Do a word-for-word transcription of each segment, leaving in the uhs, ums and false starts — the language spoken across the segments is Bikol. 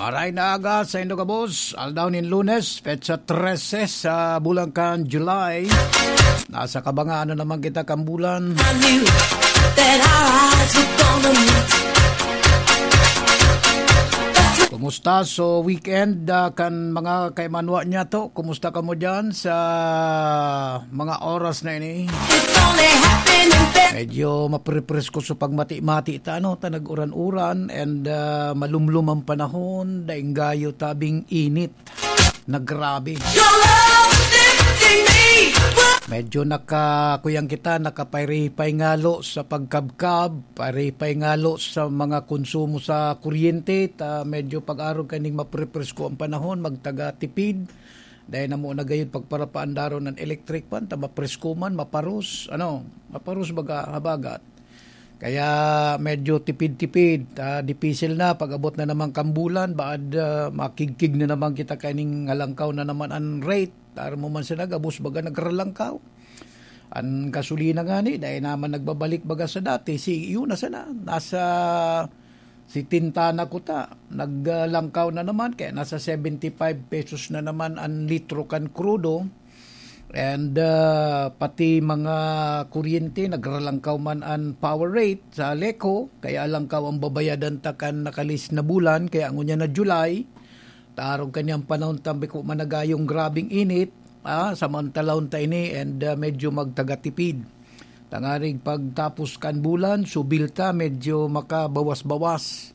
Aray na aga sa indo gabos, aldaw nin Lunes, petsa trese sa bulan kan July. Nasa kabangaan na naman kita kan bulan. I knew that our eyes were gonna meet. Kumusta? So, weekend, ah, kan mga kaimanwa niya to. Kumusta kamo dyan sa mga oras na ini? It's only happening there. Medyo maprepresko sa pagmati-mati ta, ano, ta nag-uran-uran and, ah, malumlom ang panahon, daing gayo tabing init na grabe. Your love is lifting me. Medyo naka-, kuyang kita, nakapayripay ngalo sa pagkabkab, payripay ngalo sa mga konsumo sa kuryente, ta medyo pag-arog kaning maprepresko ang panahon, magtaga tipid. Dahil na mo na gayud pagparapaandaron ng electric fan, ta mapresko man, maparos, ano, maparos baga, habagat. Kaya medyo tipid-tipid, ah, dipisil na pag-abot na naman kan bulan, baad, ah, makigkig na naman kita kaining ngalangkaw na naman an rate. Taro mo man siya nagabos baga nagralangkaw. An gasolina ngani, dai naman nagbabalik baga sa dati. Si, yun na sana, nasa sitenta na kuta. Naglangkaw na naman, kaya nasa seventy five pesos na naman an litro kan krudo. And, ah, pati mga kuryente, nagralangkaw man an power rate sa Aleco, kaya langkaw ang babayadan ta kan nakalis na bulan, kaya ngunyan na July, tarog kanyang panahon tambi ko managayong grabing init, ah, samantalahon ta ini and, ah, medyo magtagatipid. Tangarig pagtapos kan bulan, subil ta, medyo makabawas-bawas.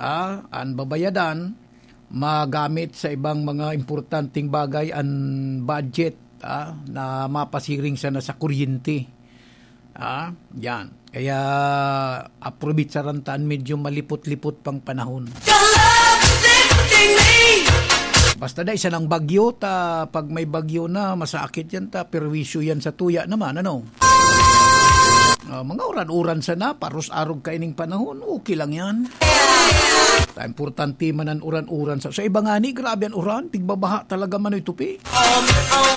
Ah, an babayadan, magamit sa ibang mga importanteng bagay an budget, ah, na mapasiring sana sa kuryente. Ah, yan. Kaya, aprobitsaran ta an medyo malipot-lipot pang panahon. Your love is lifting me. Basta dai sanang bagyo ta, pag may bagyo na, masakit yan ta, perwisyo yan sa tuya naman, ano? Ah, mga uran-uran sana, paros-arog kaining panahon, okay lang yan. Ta, importante man an uran-uran. Sa, sa iba ngani, grabe an uran, pigbabaha talaga man ito, pi.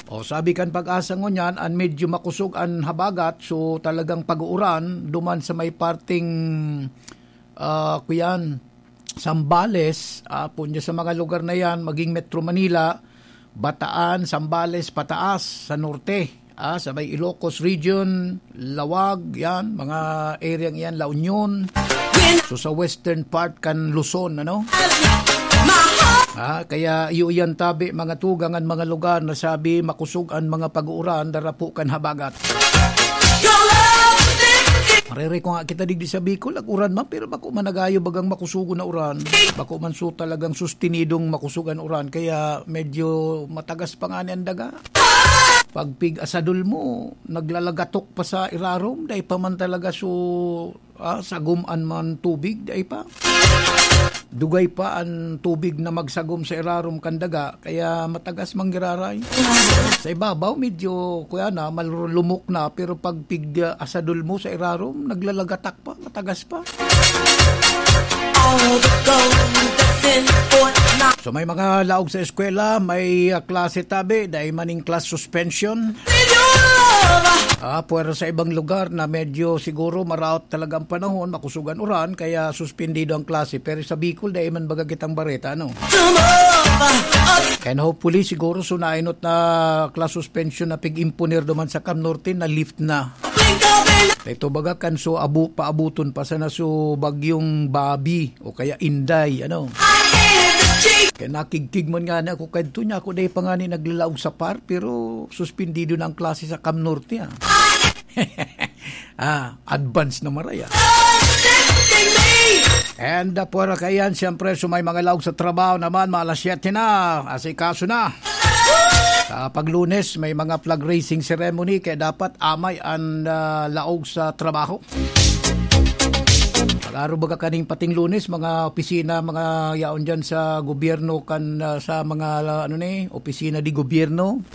O, sabi kan Pag-asa ngunyan, an medyo makosog an habagat, so talagang pag-uuran, duman sa may parteng, ah, kuyan, Zambales, ah, punyo sa mga lugar na yan, maging Metro Manila, Bataan, Zambales, pataas sa norte, ah, sa may Ilocos Region, Laoag, yan, mga area yan, La Union. So, sa western part kan Luzon, ano? Ah, kaya iyo yan tabi, mga tugang, an mga lugar na sabi, makosog an mga pag-uuran, darapo kan habagat. Marere ko nga kita digdi sa Bicol, nag-uran man, pero bako man nagayo bagang makusugon na uran. Bako man so talagang sustinidong makusog an uran, kaya medyo matagas pa nga ni an daga. Pag pig-asadol mo, naglalagatok pa sa irarom, dai pa man talaga so, ah, sagom an man tubig, dai pa. Dugay pa an tubig na magsagom sa irarom kan daga, kaya matagas manggiraray. Sa ibabaw, medyo, kuya na, malulumok na, pero pag pig-asadol mo sa irarom, naglalagatak pa, matagas pa. All the gold that's in Fort Knox. So, may mga laog sa eskwela, may, ah, klase tabi, dai maning class suspension. With your love. Ah, pwera sa ibang lugar na medyo siguro maraot talaga ang panahon, makusog an uran, kaya suspendido ang klase. Pero sa Bicol, dai man baga kitang bareta, ano? To move. And hopefully, siguro, so nainot na class suspension na pig-imponer duman sa Cam Norte, na lift na. Ito baga kan so abu-, paabuton pa sana so bagyong Bobby o kaya Inday, ano? Kaya nakigkig man nga na ako kadto niya, ako dai pa nga ni naglalaog sa par, pero suspendido na ang klase sa Cam Norte, ah. Ah, advance na maray, ah. And, uh, pwera kaiyan, siyempre, so may mga laog sa trabaho naman, mga alas siyete na, asikaso na. Sa pag-Lunes, may mga flag raising ceremony, kaya dapat amay an, ah, laog sa trabaho. Pag-aro baga kaning pating Lunes, mga opisina, mga yaon dyan sa gobyerno, kan, ah, sa mga, ano ni, opisina di gobyerno,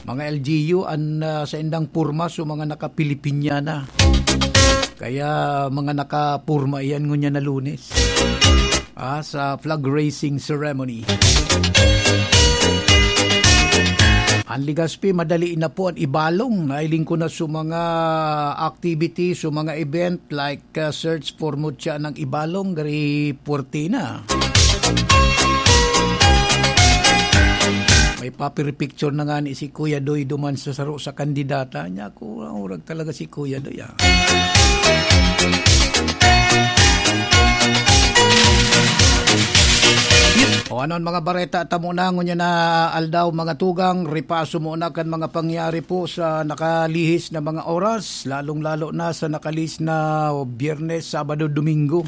mga L G U, an, ah, sa indang porma, so mga naka-Pilipinyana. Kaya mga naka-porma iyan ngunyan na Lunes. Ah, sa flag raising ceremony. An Legazpi, madali na po an ibalong. Nailing ko na sa mga activity, sa mga event like, uh, search for Mutya ng Ibalong, gari puwerte na. Papiripicture na nga ni si Kuya Doy duman sa saro sa kandidata. Niya ako, ang urag talaga si Kuya Doy, ah. O ano ang mga bareta? Tamo na, ngunyan na aldaw, mga tugang, ripaso muna kan mga pangyari po sa nakalihis na mga oras, lalong-lalo na sa nakalihis na Biyernes, Sabado, Domingo.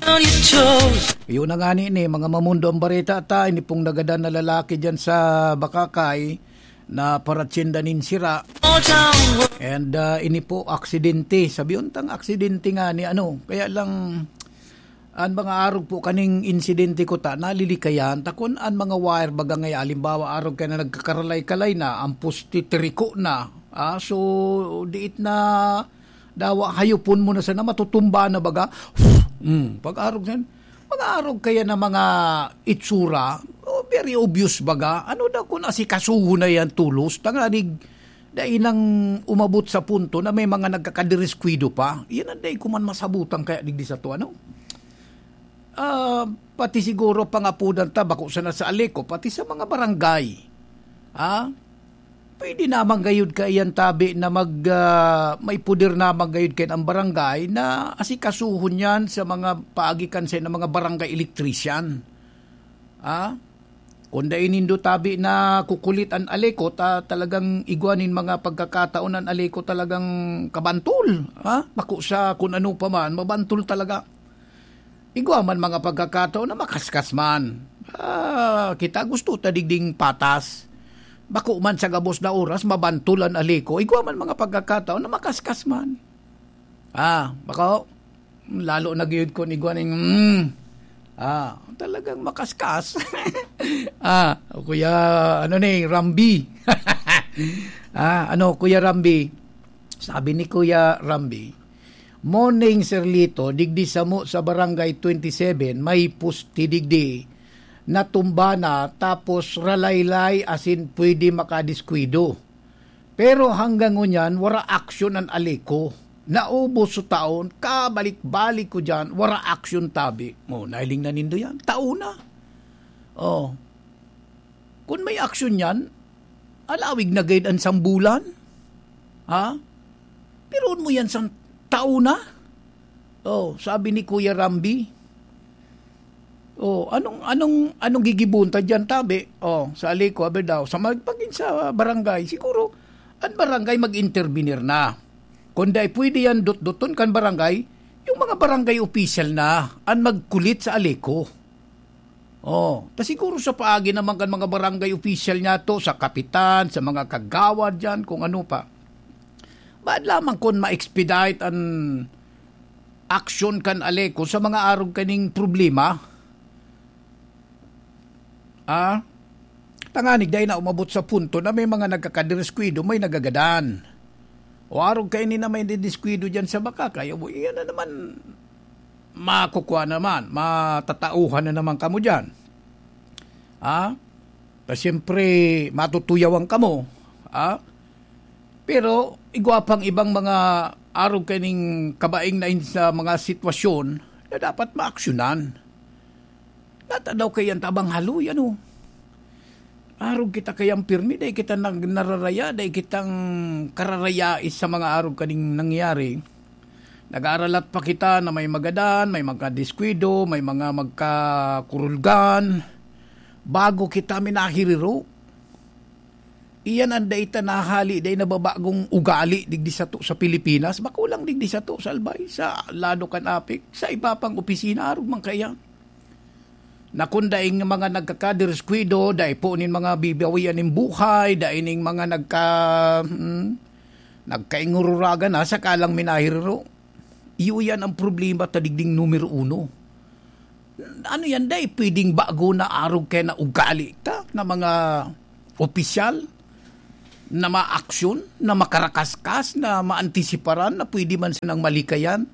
Yun na nga ni, ni, mga mamundo ang bareta ta, ini pong nagadan na lalaki dyan sa Bakakay, na paratsenda nin sira. And, ah, ini po, aksidente. Sabi untang aksidente nga ni ano, kaya lang, an mga arog po kaning insidente ko ta, nalilikayan, ta kun an mga wire baga ngay, halimbawa, arog kaya na nagkakaralay-kalay na, ang poste tiriko na. Ah, so, diit na dawa, hayopon mo na sana, matutumba na baga. Mm, pag-arog yan, mga arog kaya na mga itsura, oh, very obvious baga. Ano daw kung asikasuhon na yan tulos? Tanganig, dai nang umabot sa punto na may mga nagkakadiriskuido pa. Yan ang dai ko man masabutan kaya digdi sa to, ano? Ah, pati siguro pangapudan ta, bako sana sa Aleco, pati sa mga barangay. Ah, pwede naman gayud kaiyan tabi na mag, ah, may puder naman gayud kayan ang barangay na asikasuhon yan sa mga paagi kan sa mga barangay electrician. Ah, kung dai nindo tabi na kukulit an Aleco, ta talagang igwa nin mga pagkakataon an Aleco talagang kabantol. Ah, bako sa kun ano pa man, mabantol talaga. Igwa man mga pagkakataon na makaskas man. Ah, kita gusto ta digding patas. Bako man sa gabos na oras, mabantol an Aleco. Igwa man mga pagkakataon na makaskas man. Ah, bako, lalo na gayud kun igwa ning, mm, ah, talagang makaskas. Ah, o kuya, ano ni, Rambi. Ah, ano, Kuya Rambi? Sabi ni Kuya Rambi, "Morning, Sir Lito, digdi samo sa Barangay twenty-seven, may poste digdi. Natumba na, tapos ralaylay asin pwede makadiskuido. Pero hanggang ngunyan, wara aksyon an Aleco. Naubos sa taon, kabalik-balik ko dyan, wara aksyon tabi." Oh, nailing na nindo yan. Taon na. Oh. Kun may aksyon yan, alawig na gayud an sambulan. Ha? Pero mo yan sang taon na. Oh, sabi ni Kuya Rambi. Oh, anong, anong, anong gigibon ta diyan, tabi? Oh, sa Aleco, abi daw, sa mag-, pagin sa barangay, siguro, ang barangay mag-intervenir na. Kung dai pwede yan, dutduton kan barangay, yung mga barangay official na, ang magkulit sa Aleco. Oh, ta siguro sa paagi naman kan mga barangay official niya to, sa kapitan, sa mga kagawad diyan, kung ano pa. Baad lamang kun ma-expedite an aksyon kan Aleco sa mga arog kaning problema? Ah? Tanganig dai na umabot sa punto na may mga nagkakadiriskuido, may nagagadan. O arog kaini na may didiskuido diyan sa Bakakay, o iyan na naman, makukwa naman, matatauhan na naman kamo diyan. Ah? Ta siyempre, matutuyawan kamo. Ah? Pero igwa pang ibang mga arog kaning kabaing na in-, sa mga sitwasyon na dapat maaksyonan. Natadaw kayan tabang haloy, ano? Arog kita kayang pirmi, dai kita nag-, nararaya, dai kitang kararayais sa mga arog kaning nangyari. Nag-aaralat pa kita na may magadan, may magkadiskuido, may mga magkakurulgan. Bago kita minahiriro. Iyan ang dai ta nahali, dai nababagong ugali digdi sato sa Pilipinas, bako lang digdi sato sa Albay, sa lado kan Apec, sa iba pang opisina, arog man kaya. Na kun daing mga nagkakadiriskuido, dai po nin mga bibawian nin buhay, dai ning mga nagka-, hmm, nagkaingururagan na, saka lang minahiriro. Iyo yan ang problema ta digding numero uno. Ano yan, dai pwedeng bago na arog kaya na ugali ta na mga opisyal na maaksyon, na makarakaskas, na maantisiparan, na pwede man sanang malikayan?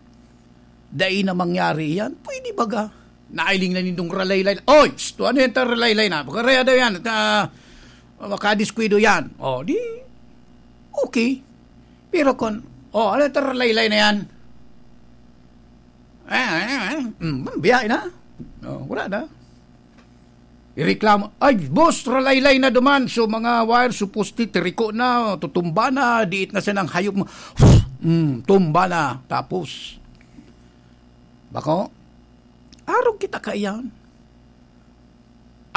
Dai na mangyari yan. Pwede baga? Nailing na nindong ralaylay. Oy! Psst! Ano yan ta ralaylay na? Pagkaraya daw yan. At, ah, makadiskuido yan. O, di, okay. Pero kon, o, ano ta ralaylay na yan? Eh, eh, eh, mm, biyahe na. O, wala na. Ireklamo, "Ay, boss, ralaylay na duman. So, mga wire, supposti, tiriko na, tutumba na, diit na sanang hayop mo." Mm, tumba na. Tapos, bako, arog kita kaiyan.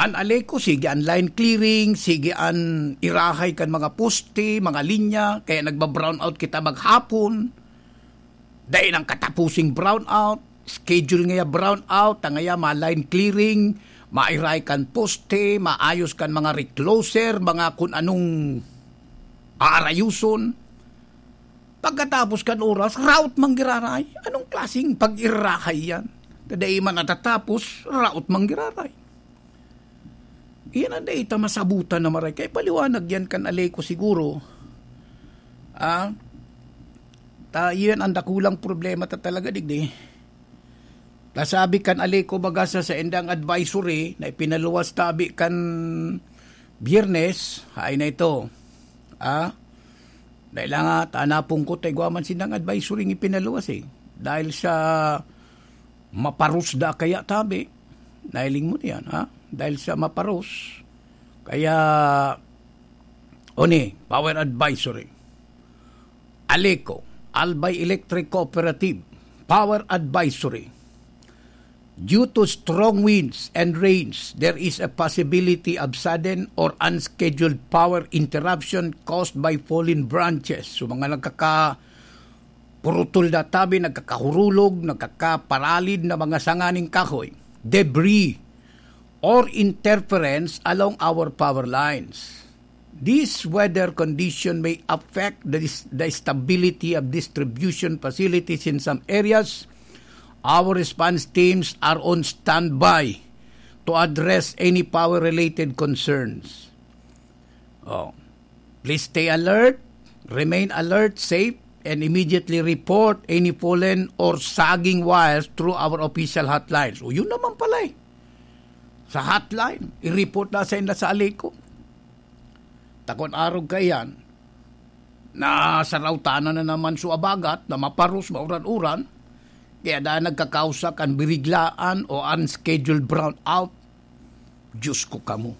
An Aleco, sige an line clearing, sige an irahay kan mga poste, mga linya, kaya nagba-brownout kita maghapon. Dai nang katapusing brownout, schedule ngaya brownout, tangaya ma-line clearing, mairay kan poste, maayos kan mga recloser, mga kun anong aarayuson. Pagkatapos kan oras, route man giraray. Anong klaseng pag-irahay yan? Kadai man natatapos, route man giraray. Iyan ang dai ta masabutan na maray. Kaya paliwanag yan kan Aleco siguro. Ah, ta, iyan ang dakulang problema ta talaga, digdi. Ta sabi kan Aleco baga sa saindang advisory na ipinaluwas tabi kan Biyernes, hain na ito. Ah, dahil nga, tanapong ko, ta igwa man sindang advisory nga ipinaluwas eh. Dahil sa maparos da kaya tabi, nahiling mo na yan, ha? Dahil sa maparos, kaya, oni, power advisory. Aleco, Albay Electric Cooperative, power advisory. Due to strong winds and rains, there is a possibility of sudden or unscheduled power interruption caused by fallen branches. So, mga nagkaka-, purutol na tabi, nagkakahurulog, nagkakaparalid na mga sanga ning kahoy, debris, or interference along our power lines. This weather condition may affect the dis-, the stability of distribution facilities in some areas. Our response teams are on standby to address any power-related concerns. Oh. Please stay alert, remain alert, safe, and immediately report any fallen or sagging wires through our official hotlines. O, yun naman pala eh. Sa hotline, i-report na sa inda sa Aleco. Takon arog kaiyan, na saraw tanan na naman so habagat, na maparos, mauran-uran, kaya dahil nagkakausa kan biriglaan o unscheduled brownout, Diyos ko kamo.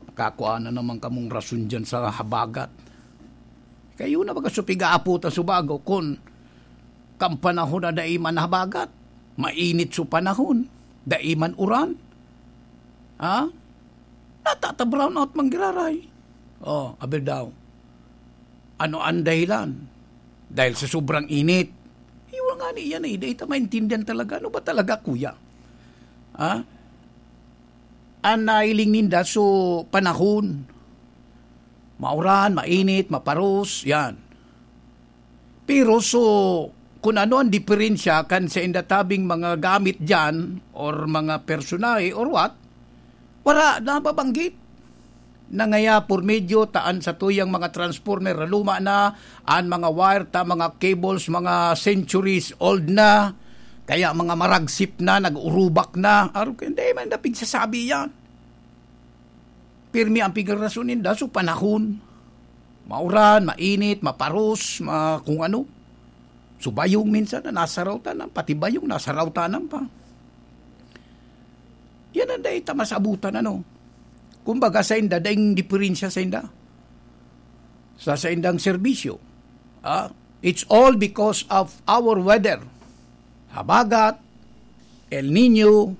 Nakakua na naman kamong rason dyan sa habagat. Kayo na baga so pigaaputan so bago kun kan panahon na dai man habagat, mainit so panahon, dai man uran. Ha? Natata-brownout man giraray. Oh, aber daw. Ano ang dahilan? Dahil sa sobrang init. Iwa nga ni iyan eh, dai ta maintindihan talaga. Ano ba talaga, kuya? Ha? Ang nailing ninda, so, panahon. Mauran, mainit, maparos, yan. Pero so, kung ano ang diferensya kan sa indatabing mga gamit dyan, or mga personahe, or what, wala nababanggit. Nangaya por medyo taan sa tuyang mga transformer na luma na, an mga wire ta, mga cables, mga centuries old na, kaya mga maragsip na, nag-urubak na. Aro, hindi man dapig sasabi yan. Pirmi ang pigrason ninda, so panahon. Mauran, mainit, maparos, ma-, kung ano. So bayong minsan na nasaraw tanan, pati bayong nasaraw tanan pa. Yan ang dai ta masabutan, ano. Kumbaga, sa inda, daing diferensya sa inda. Sa, sa indang serbisyo. Ah, it's all because of our weather. Habagat, El Nino,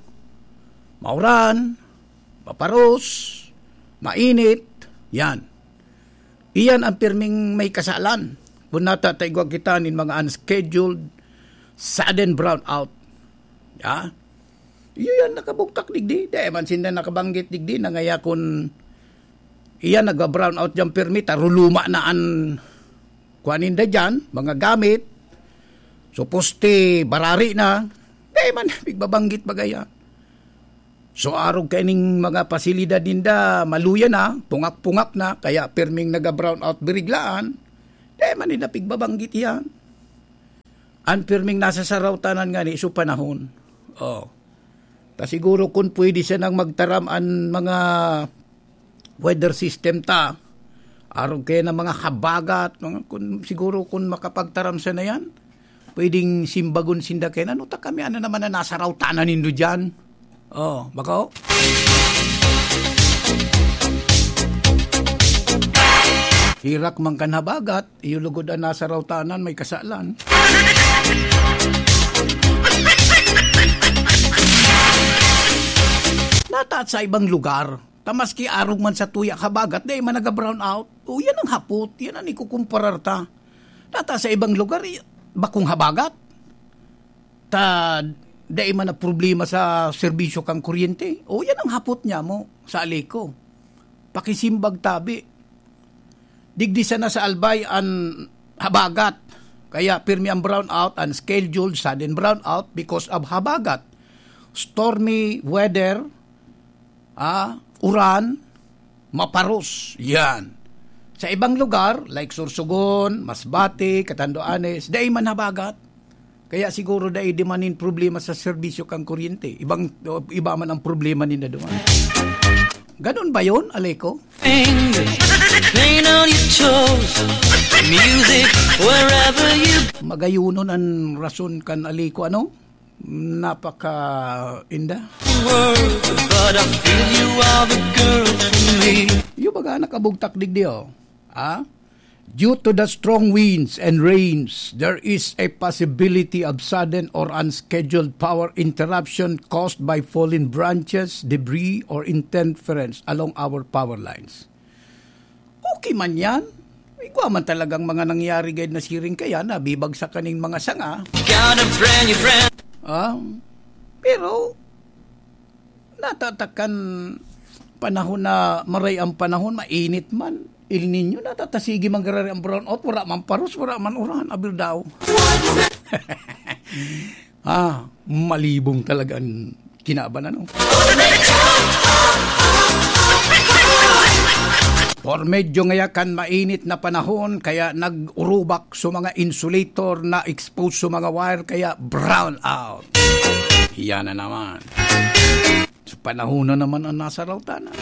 mauran, maparos, mainit, yan. Iyan ang pirming may kasalan. Kung natataigwa kita nin mga unscheduled, sudden brownout. Ya? Iyo yan, nakabugtak digdi. Di man sinda nakabanggit digdi na ngaya kun iyan nagba-brownout dyan pirmi, taruluma na an kuan ninda dyan, mga gamit. So, poste, barari na. Di man, pigbabanggit bagaya. So, arog kaining mga pasilidad ninda, maluya na, pungak-pungak na, kaya pirming naga-brownout biriglaan. Di man nila pigbabanggit yan. An pirming nasa sarawtanan nga ni, so panahon. Oh. Ta siguro kun pwede siya nang magtaram an mga weather system ta, arog kaya na mga habagat, mga, kun, siguro kun makapagtaram siya na yan, pwedeng simbagon sinda kaya, "Ano ta kami, ano naman na nasa rawtanan nindo dyan?" Oh, bako? Herak man kan habagat, iyo lugod an nasa rawtanan may kasalan. Nataat sa ibang lugar, ta maski arog man sa tuya habagat, dai man naga-brown out. O, yan ang hapot, yan ang ikukumparar ta. Nataat sa ibang lugar, i-, bakong habagat. Ta, dai man na problema sa serbisyo kan kuryente. O, yan ang hapot niya mo sa Aleco. Pakisimbag tabi. Digdi sana sa Albay an habagat. Kaya pirmi ang brownout, unscheduled sudden brownout because of habagat. Stormy weather, ah, uran, maparos. Yan. Sa ibang lugar, like Sorsogon, Masbate, Catanduanes, dai man habagat. Kaya siguro dai di man nin problema sa serbisyo kan kuryente. Ibang, iba man ang problema ninda doon. Ganun ba yun, Aleco? Fingers playing on your toes. Music wherever you Magayunon an rason kan Aleco, ano? Napaka-inda. World, but I feel you are the girl for me. Yung baga nakabugtak digdi, oh. Ah? Due to the strong winds and rains, there is a possibility of sudden or unscheduled power interruption caused by fallen branches, debris, or interference along our power lines. Okay man yan. Igwa man talagang mga nangyari gayod na siring kaya na bibagsak kaning mga sanga. Got a brand new friend. Ah, pero natatakan panahon na maray ang panahon, mainit man, El Niño, natatasigi man garo ang brownout, wala man paros, wala man uran, abir daw. Ah, malibong talaga ang kinaban, ano? Por medyo ngaya kan mainit na panahon, kaya nag-urubak sa mga insulator na exposed sa mga wire, kaya brown out. Yan na naman. Sa panahon na naman ang nasa rawtanan.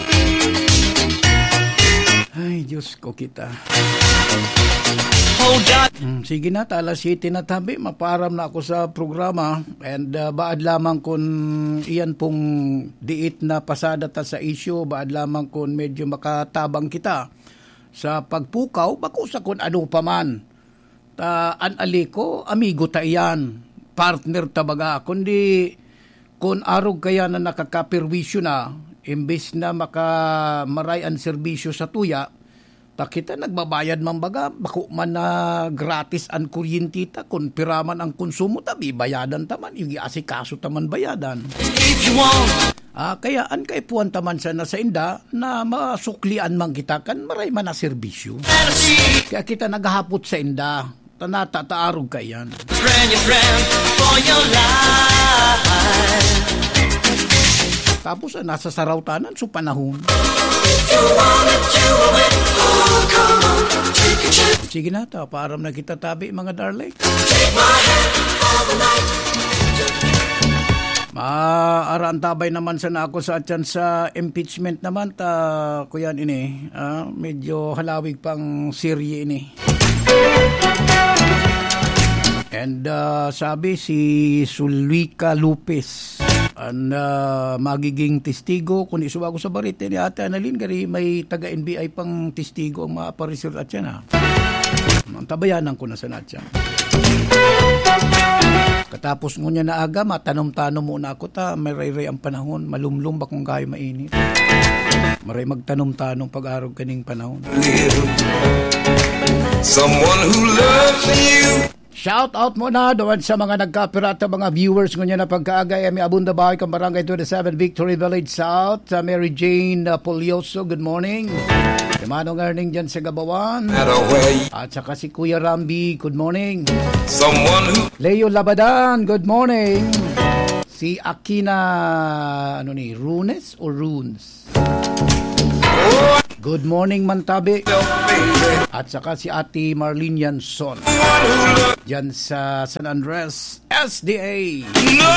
Ay, Diyos ko kita. Hold on. Hmm, sige na, ta alas siyete na tabi, mapaaram na ako sa programa. And, ah, baad lamang kun iyan pong diit na pasada ta sa isyu, baad lamang kun medyo makatabang kita sa pagpukaw, bako sa kun ano pa man. Ta, an Aleco, amigo ta iyan, partner ta baga, kundi kun arog kaya na nakakaperwisyo na, imbes na maka-, maray an serbisyo sa tuya, ta kita nagbabayad man baga, bako man na gratis an kuryente ta, kun pira man ang konsumo ta, bibayadan ta man, igiasikaso ta man bayadan. If you want. Ah, kaya an kaipuhan ta man sana sa inda na masuklian man kita kan maray man na serbisyo. Kaya kita naghahapot sa inda, ta natataarog kaiyan. Friend, your friend for your life. Tapos, ah, nasa sarawtanan, so panahon. If you want it, you will win. Oh, come on, take a chance. Sige na, ta, paaram na kita tabi, mga darling. Take my hand for the night. Maarantabay naman sana ako sa atyan sa impeachment naman, ta, kuyan ini, ah, medyo halawig pang serye ini. And, ah, sabi si Sulika Lopez, an, ah, magiging testigo, kun isuwa ko sa barete ni Ate Annalyn, gari may taga N B I pang testigo ang maapareser atyan, ha. Ang tabayanan ko na sana atyan. Katapos ngunyan na aga, matanom-tanom muna ako ta, maray-ray ang panahon, malumlom bakong gayo mainit. Maray magtanom-tanom pag-arog kaning panahon. Someone who loves you. Shout out muna doon sa mga nagkapirata, mga viewers ngunyan na pagkaaga, Emmy Abunda Bahay, kan Barangay twenty-seven, Victory Village South, sa Mary Jane, uh, Polioso, good morning. Si Manong Erning dyan sa Gabawan. Matter where you At saka si Kuya Rambi, good morning. Someone who Leo Labadan, good morning. Si Akina, ano ni, Runes o Runes? Good morning, Mantabi. At saka si Ate Marlene Yanson. Diyan sa San Andres, S D A. No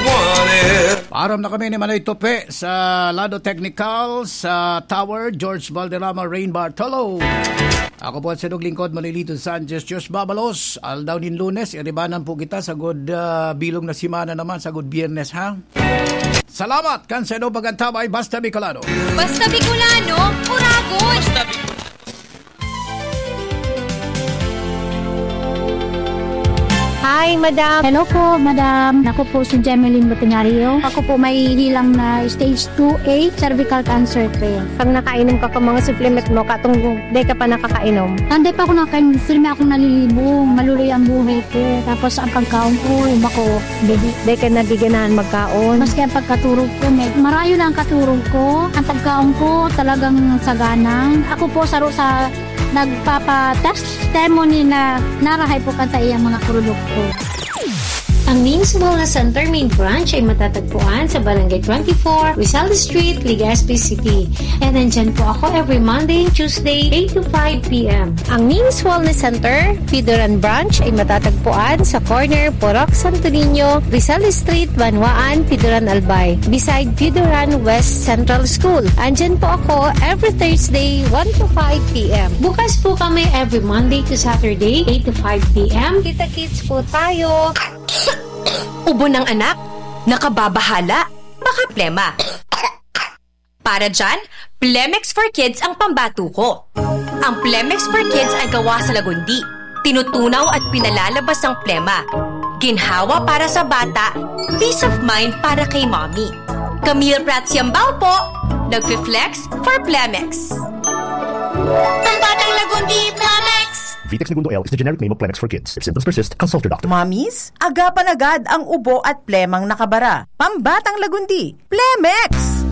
one else. Paaram na kami ni Manoy Tope sa Lado Technical, sa Tower, George Valderrama, Rain Bartolo. Ako po an saindong lingkod, Manolito Sanchez Dios Babalos. Aldaw nin Lunes, iribanan po kita sagud, ah, bilog na semana naman, sagud Biyernes, ha? Salamat kan saindong pag-antabay, Basta Bicolano. Basta Bicolano, Uragon! Hi, madam. Hello po, madam. Ako po si Jemeline Botenario. Ako po may hilang na stage two A cervical cancer po. Pag nakainom ka ka mga supplement mo, katong di ka pa nakakainom. Hindi pa ako nakainom, firme akong nalilibong. Maluloy ang buhay ko. Tapos ang pagkaon ko, bako, baby. Di ka nadiganahan magkaon. Maski ang pagkaturog ko, may marayo na ang katurog ko. Ang pagkaon ko, talagang saganang. Ako po, saro sa nagpapa-testimony na narahay po kan sa iyang mga produkto. Ang Ning's Wellness Center main branch ay matatagpuan sa Barangay twenty-four, Rizal Street, Legazpi City. And nandyan po ako every Monday and Tuesday, eight to five p m. Ang Ning's Wellness Center, Pidoran Branch, ay matatagpuan sa corner Purok Santo Niño, Rizal Street, Banwaan, Pidoran, Albay, beside Pidoran West Central School. Andyan po ako every Thursday, one to five p m. Bukas po kami every Monday to Saturday, eight to five p m. Kita-kits po tayo. Ubo ng anak? Nakababahala? Baka plema. Para dyan, Plemex for Kids ang pambato ko. Ang Plemex for Kids ay gawa sa lagundi. Tinutunaw at pinalalabas ang plema. Ginhawa para sa bata, peace of mind para kay mommy. Camille Prats Yambao po, nagfi-flex for Plemex. Pambatang lagundi, Plemex! Vitex Negundo L is the generic name of Plemex for Kids. If symptoms persist, consult your doctor. Mommies, agapan agad ang ubo at plemang nakabara. Pambatang lagundi, Plemex!